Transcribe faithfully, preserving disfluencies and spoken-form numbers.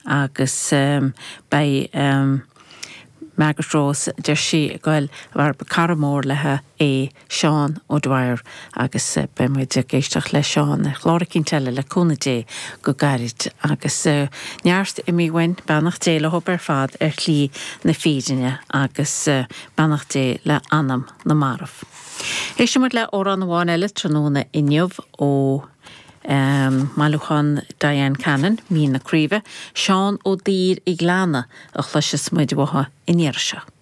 Agus beidh Margaret Rose deir sí goil mar cara mór léi é Seán O'Dwyer agus beidh muid ag éisteacht le Seán ar chlár eicínt eile le cúnamh Dé go gairid agus neart imithe uainn beannacht Dé leo ar fad ar shlí na fírinne agus beannacht Dé le anam na marbh. Éistfidh muid le amhrán amháin eile tráthnóna inniu ó um, mbailiúchán Diane Cannon, Mín na Craoibhe, Seán Ó Duibhir an Ghleanna a chloisfeas muid uaidh an iarraidh seo.